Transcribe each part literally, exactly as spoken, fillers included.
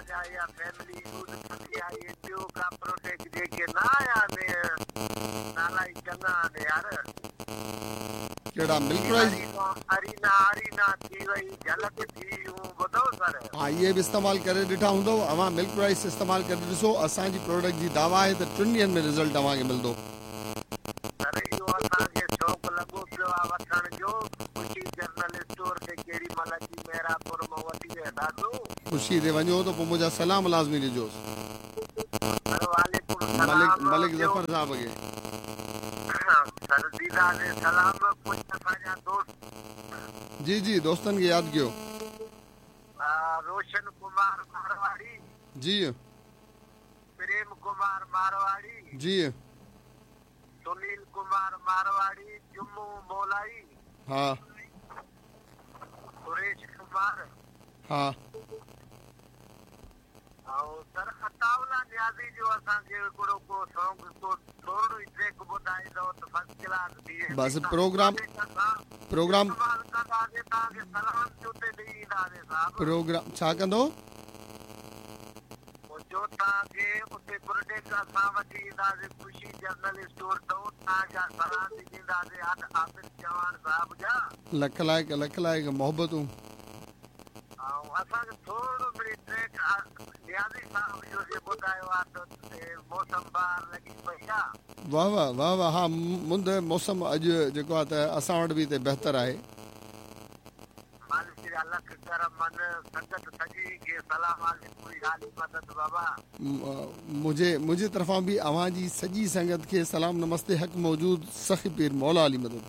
اسان جا اها فيملي يوز ڪندي آهي. اهي ٻيو ڪا پروڊڪٽ جيڪي نه آيا آهن، نالا ئي چڱا آهن يار. ڪهڙا ملڪ رائس؟ ارينا ارينا ٿي وئي، جهلڪ ٿي ويون، ٻڌو سر. ها، اهي به استعمال ڪري ڏٺا هوندؤ اوهان. ملڪ رائس استعمال ڪري ڏسو، اسان جي پروڊڪٽ جي دعويٰ آهي ته ٽن ڏينهن ۾ رزلٽ اوهان کي ملندو. سر، اهو اسان کي شوق لڳو پيو آهي وٺڻ جو. خوشي جنرل اسٽور تي ڪيڏي مهل اچي مهراپور مان وٺي وينداسون. خوشي تي وڃو ته پوءِ منهنجا سلام لازمي ڏجوس. سر، وعليڪم ملڪ سلام. ملڪ ٻيو ظفر صاحب کي. سر، ڏينداسين سلام. ڪجهه اسان جا دوست جي جي، دوستن کي ياد ڪيو. روشن ڪمار مارواڙي، جي. پريم ڪمار مارواڙي، جي. سنيل ڪمار مارواڙي، جمو مولائي، ها. سريش ڪمار ها. ۽ سر اتاولا نيازي جو اسان کي هڪڙو ڪو سانگ، ڪو ٿورو ئي ٽريڪ ٻڌائيندؤ ته فرسٽ ڪلاس ٿي ويندي. بس پروگرام پروگرام استعمال ڪنداسين، توهان کي سلام به اتي ڏيئي اينداسين صاحب. پروگرام ڇا ڪندو؟ پوءِ جو توهان کي اتي پروڊڪٽ اسان وٺي اينداسين خوشي جنرل اسٽور تان، توهان جا سلام به ڏينداسين عابد چوهاڻ صاحب جا. لک لائق، لک لائق، محبتون. ۽ اسان کي ٿورو مڙئي ٽريڪ نيازي صاحب جو جي ٻڌايو آهي ته موسم بهار لڳي پئي آهي. واهه واهه واهه واهه! ها، مند موسم اڄ جيڪو آهي ته اسان وٽ به هتي بهتر آهي. مالڪ جا لک ڪرم، سنگت سڄي کي سلام عليڪم، علي مدد بابا. منهنجي منهنجي طرفان به اوهان جي سڄي سنگت کي سلام، نمستي، حق موجود، سخي پير مولا علي مدد.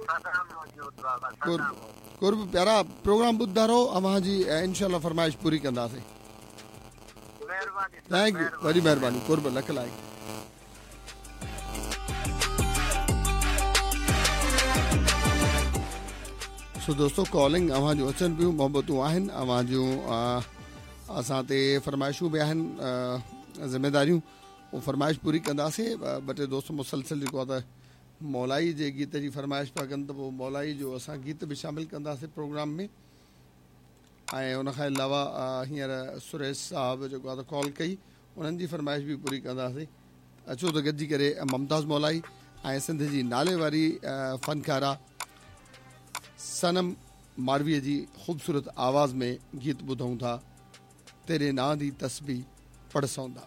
سدا موجود بابا. قرب. سدا موجود. قرب پيارا، پروگرام ٻڌندا رهو، اوهان جي انشاءالله فرمائش پوري ڪنداسين. مهرباني. Thank you, وڏي مهرباني، قرب، لک لائق. سو دوستو، ڪالنگ اوهان جون اچن پيون، محبتون آهن اوهان جون اسان تي، فرمائشون به آهن، ذميداريون، اهو فرمائش پوري ڪنداسين. ٻه ٽي دوست مسلسل جيڪو آهي ته مولائي جي گيت جي فرمائش پيا ڪن ته پوءِ مولائي جو اسان گيت به شامل ڪنداسين پروگرام ۾. ۽ ان کان علاوه هينئر سريش صاحب جيڪو آهي ته ڪال ڪئي، انهن جي فرمائش به پوري ڪنداسين. اچو ته گڏجي ڪري ممتاز مولائي ۽ سنڌ جي نالي واري فنڪارا صنم مارويءَ جي خوبصورت آواز ۾ گيت ٻڌون ٿا، تيري نان the تسبيح پڙهه سوندا.